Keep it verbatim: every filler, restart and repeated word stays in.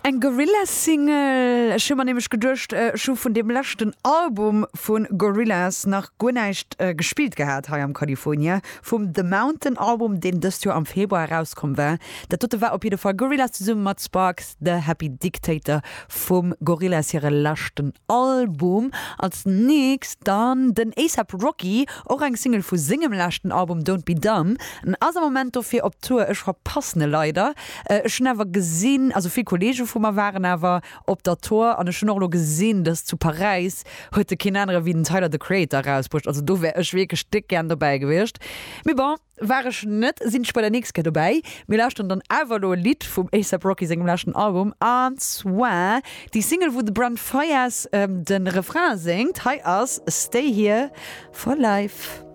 Eng Gorillaz-Single. Ech hu mer nämlech geduecht, ech hu vun deem leschten Album vu Gorillaz nach guer näischt gespillt gehat hei am California, vum The Mountain Album, deen dëst Joer am Februar erauskomm war. Dat dote war op jidde Fall Gorillaz zesumme mat Sparks, The Happy Dictator vum Gorillaz hire leschten Album. Als nächst dann den A$AP Rocky, och eng Single vu sengem leschten Album Don't Be Dumb. En ass am Moment dofir op Tour, ech verpassen e leider. Ech hunn awer gesinn, also vill Kolleege vu mer waren awer op der Tour an ech hunn och elo gesinn, dass zu Paräis huet e keen anere wéi den Tyler, the Creator erausbruecht. Also do wär ech wierklech déck gären dobäi gewiescht. Mee bon, war ech net, sinn ech bei der nächst Kéier dobäi. Mir lauschteren dann awer elo e Lidd vum A$AP Rocky sengem leschten Album, an zwar déi Single wou de Brent Faiyaz de Refrain séngt. Hei ass Stay Here For Life.